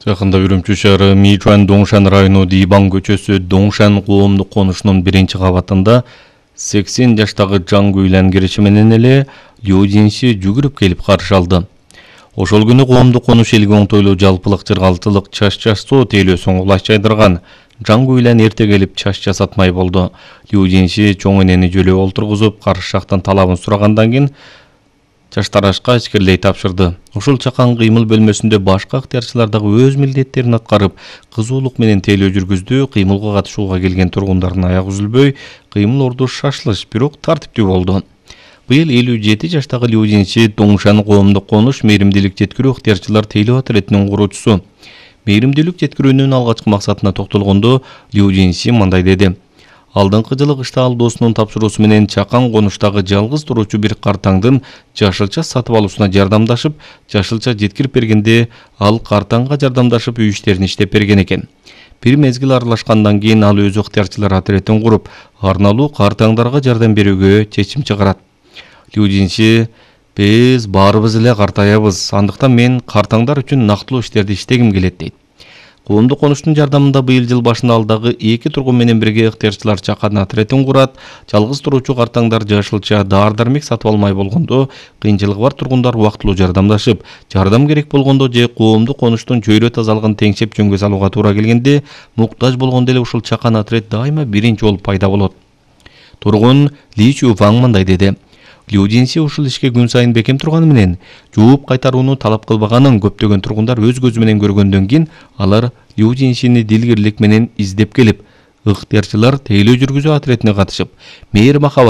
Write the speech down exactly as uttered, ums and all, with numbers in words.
Жакында Үрүмчү шаары Мичуан Доңшан району Дибан көчөсү Доңшан коомдук конушунун биринчи кабатында сексен жаштагы жаң үйлөн кириши менен эле Лю Жинси жүгүрүп келип каршы алды. Ошол күнү коомдук конуш элге оңтойлуу жалпылык жыргалтылык чач чачуу тейлөөсүн кулаш жайдырган. Жаң үйлөн эрте келип чач жасатмай болду. Лю Жинси чоң энени жөлөө олтургузуп, каршы жактан талабын сурагандан кийин чач тарашка ичкирлей тапшырды. Ушул чакан кыймыл бөлмөсүндө башка ыктыярчылар дагы өз милдеттерин аткарып, кызуулук менен тейлөө жүргүздү. Кыймылга катышууга келген тургундардын аягы үзүлбөй, кыймыл орду шашылыш, бирок тартиптүү болду. Быйыл элүү жети жаштагы Лю Жинси Доңшан коомдук конуш мээримдүүлүк жеткирүү ыктыярчылар тейлөө отрядынын куруучусу. Мээримдүүлүк жеткирүүнүн алгачкы максатына токтолгондо Лю Жинси мындай деди. Алдыңкы жылы кышта ал досунун тапшыруусу менен чакан конуштагы жалгыз туруучу бир картаңдын жашылча сатып алуусуна жардамдашып, жашылча жеткирип бергенде ал картаңга жардамдашып үй иштерин иштеп берген экен. Бир мезгил аралашкандан кийин ал өз ыктыярчылар отрядын куруп, арналуу картаңдарга жардам берүүгө чечим чыгарат. Лю Жинси: "Биз баарыбыз эле картаябыз, андыктан мен картаңдар үчүн нактылуу иштерди иштегим келет" дейт. Коомдук конуштун жардамында быйыл жыл башында ал дагы эки тургун менен бирге ыктыярчылар чакан отрядын курат. Жалгыз туруучу картаңдар жашылча даар-дармек сатып алмай болгондо, кыйынчылыгы бар тургундар убактылуу жардамдашып, жардам керек болгондо же коомдук конуштун чөйрө тазалыгын теңшеп жөнгө салууга туура келгенде, муктаж болгондо эле ушул чакан отряд дайыма биринчи болуп пайда болот. Тургун Ли Чуфаң мындай деди. Лю Жинси ушул ишке күн сайын бекем турганы менен, жооп кайтарууну талап кылбаганын көптөгөн тургундар өз көзү менен көргөндөн кийин алар Лю Жинсини дилгирлик менен издеп келип, ыктыярчылар тейлөө жүргүзүү отрядына катышып, мээр махабат